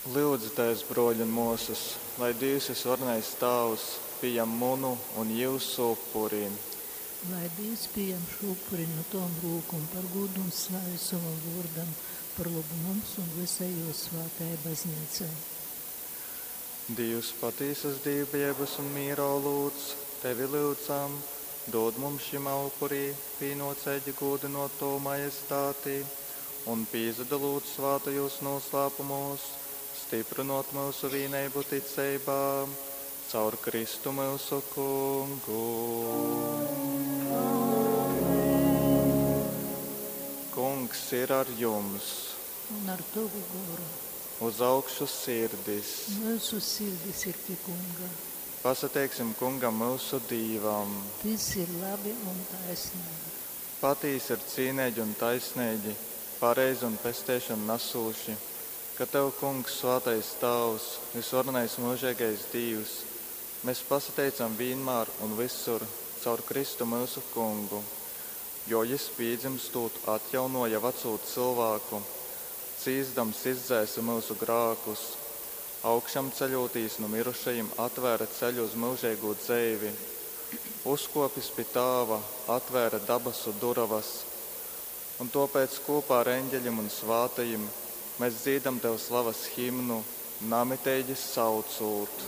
Lyudzitēs, brōļi un mōsas, lai Dīvs vysvarenais Tāvs pījam munu un jyusu upuri. Lai Dīvs pījam šo upuri no tovom rūkom par gūdu un slavi sovam vōrdam, par lobu mums un visai jō svātajai baznīcai. Dīvs patīsas dīvbijeibas un mīra olūts, tevi lyudzam, dod mums šymā upurī pīnōceigi gūdynōt tovu majestāti un pīsadalūt svātajūs nūslāpumūs, styprynōt myusu vīneibu ticeibā, caur Kristu myusu Kungu. Kungs ir ar jums! Un ar tovu goru. Uz augšu sirdis! Myusu sirdis ir pie Kunga. Pasateiksim Kungam myusu Dīvam! Tys ir labi un taisnīgi. Patīsi ir cīneigi un taisneigi, pareizi un pesteišonu nasūši, ka Tev, Kungs, svātais Tāvs, vysvarenais myužeigais Dīvs, mēs pasateicam vīnmār un vysur caur Kristu myusu Kungu, jo Jys pīdzymstūt atjaunōja vacū cylvāku, cīsdams izdzēse myusu grākus, augšamceļūtīs nu mirušajim atvēre ceļu uz myužeigū dzeivi, uzkōpis pi Tāva, atvēre dabasu durovas. Un tōpēc kūpā ar eņģeļim un svātajim mēs dzīdam Tev slavas himnu, namiteigi saucūt.